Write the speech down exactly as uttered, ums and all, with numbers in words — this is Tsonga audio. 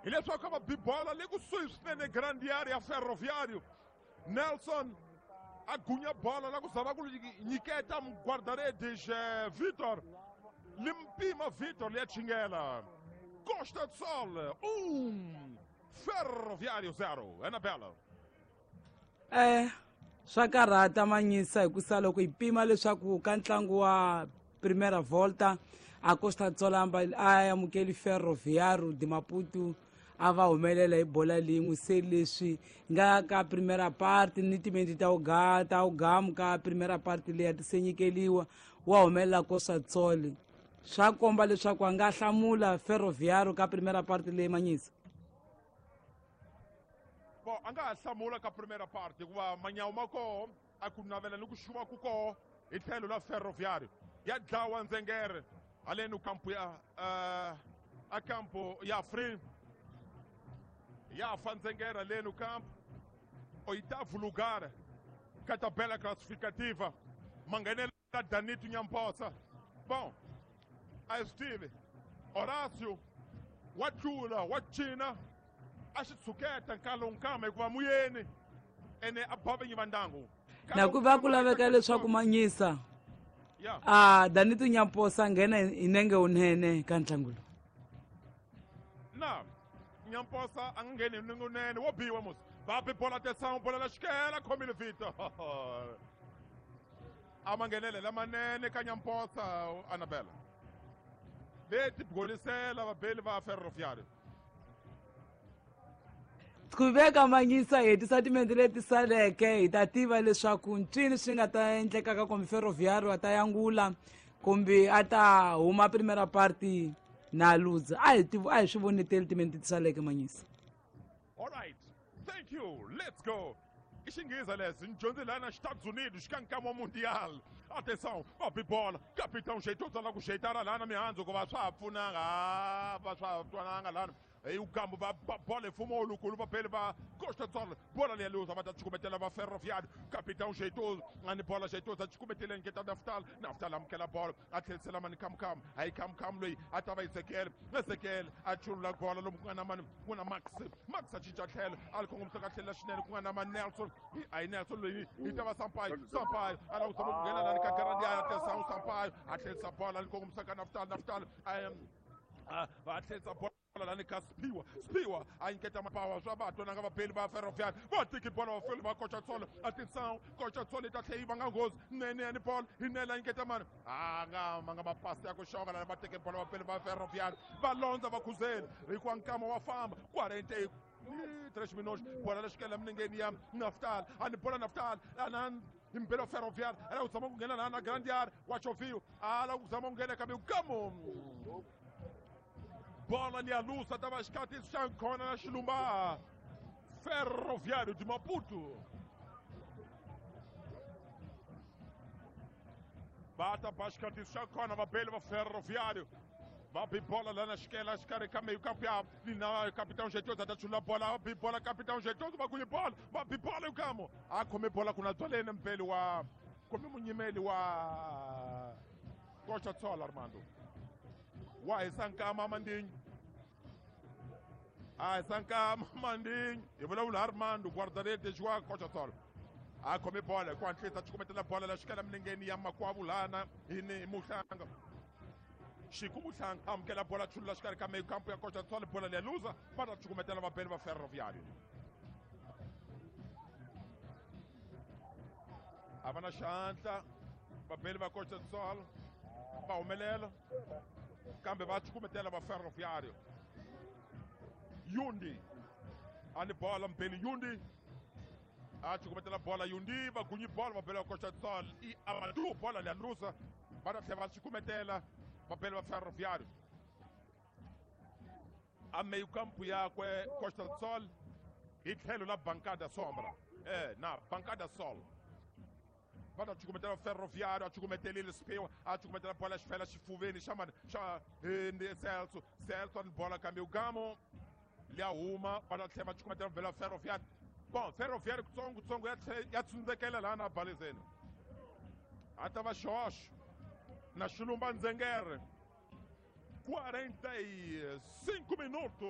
Hileswaku a va bi bola le kusuhi swinene grande area ya Ferroviário. Nelson a gunya bola la ku zama ku nyiketa guarda-redes Vitor. Limpima Vitor liya chingela. Costa do Sol, um, Ferroviário zero. Anabela. Eh, swa karhata Manyisa hikusa loko hi pima leswaku ka ntlangu wa Primeira Volta a Costa do Sol a amukeli Ferroviário de Maputo a va humelela hi bola lin'we se leswi nga ka primera parte ni timenti ta uga ta ugamu ka primera parte leyi a ti se nyikeliwa wa humelela Costa do Sol swa komba leswaku a nga hlamula Ferroviário ka primera parte leyi Manyisa. Bon, a nga ha hlamula ka primera parte hikuva manyawu ma koho a ku navela ni ku xuva ku koho hi tlhelo la Ferroviário ya dlawa ndzengere haleni kampo ya uh, a kampo ya free ya fa ndzengere haleni kampo oitavo lugar ka tabela classificativa manghenela Danito Nyamposa. Bon, a hi swi tivi Horacio wa tlula wa cina a xi tshuketa nkalonkama hikuva muyeni ene a ba vinyi va ndyangu na ku va ku laveka leswaku Manyisa a Danito Nyamposa nghena hi nenge wunene ka ntlangu lowu. Na Nyamposa a nga ngheni hi nenge wunene wo biwa musi va bi bola atenção bola la xikela khomile Vitor a ma nghenele lamanene ka Nyamposa Anabela leti golisela vabeli va Ferroviário. Ku veka Manyisa hi hetisa timenti leti saleke hi ta tiva leswaku ncini swi nga ta endlekaka kumbe Ferroviário a ta yangula kumbe a ta huma primera parte na luza a hi tivi a hi swi voneteli timenti ti saleke Manyisa. All right, thank you, let's go. I xinghezi lexi ni dyondze lana Estados Unidos ka nkama wa Mundial. Atenção, va bi bola capitão jeitoso la ku xeitara lana mihandzu ku va swa ha pfunanga va swa ha twananga lana hi ukambo va ba bola mfumo lukulu va bele va Costa do Sol bola leya luza va ta cukumetela va Ferroviário capitão jeitoso ani bola jeitoso a cukumetele nketa Naftal Naftal amukela bola a tlherisela mani Kamukam hayi Kamukam loyi a ta va Ezekiel Ezekiel a chulula bola lomu ku nga na mani ku na Max Max a cinca tlhelo a li kongomisa ka tlhelo xinene ku nga na mani Nelson hayi Nelson loyi yi ta va Sampaio Sampaio a lava ku zama ku nghena lani ka grande area atenção Sampaio a tlherisa bola a li kongomisa ka Naftal Naftal a a tlherisa bola lani ka Spiwa Spiwa a nyiketa mapawa swa va twananga vabeli va Ferroviário va tiki bola va feli va Costa do Sol atenção Costa do Sol yi ta tlhela yi vanga nghozi nene yani bola hi nele a nyiketa mani a nga ma nga mapasi ya ku xonga lani va teke bola vabeli va Ferroviário va londza va khuzeni hikuva nkama wa famba quarenta e três minutos bola lexikela minengeni ya Naftal ani bola Naftal ana impelo wa Ferroviário ala ku zama ku nghena laha na grande area wa Chovio ala ku zama ku nghena kambe kamo bola liya lusa ta va xikati xa nkhona na xilumba Ferroviário de Maputo va ta ba xikati xa nkhona vabeli va Ferroviário va bi bola lana xikela xikarhi ka meio campo ya lina capitão jeitoso a ta chula bola va bi bola capitão jeitoso va kunye bola va bi bola yukamo a khome bola ku na twaleni mbeli wa khome munyimeli wa Costa do Sol Armando wa hisa nkama Mandinho a hisa nkama Mandinho hi vulavula Armando guarda-redes wa Costa do Sol a khome bola hi ku hatlisa a cukumetela bola la xikela milengeni ya makwavu lana hi ni Muhlanga Xiku Muhlanga amukela bola chulula xikarhi ka meio campo ya Costa do Sol bola leya luza va ta cukumetela vabeli va Ferroviário a va na xandla vabeli va Costa do Sol va humelela kambe va cukumetela va Ferroviário Yundi ani bola mbeli Yundi a cukumetela bola Yundi va gunyi bola va bela Costa do Sol i Amadou bola leya luza va ta tlhela va cukumetela va bela va Ferroviário a meio campo yakwe Costa do Sol hi tlhelo la bancada sombra eh na bancada sol va ta cukumetela Ferroviário a cukumetelile Spiwa a cukumetela bola xi fela xifuveni xa mani xa Celso Celso ani bola kambe ugamo liya huma va ta tlhela va cukumetela vhela Ferroviário bon Ferroviário kutsongo kutsongo ya ya tsundzekela laha na balezeni a ta va xoxo na xilumba ndzengere quarenta e cinco minutos.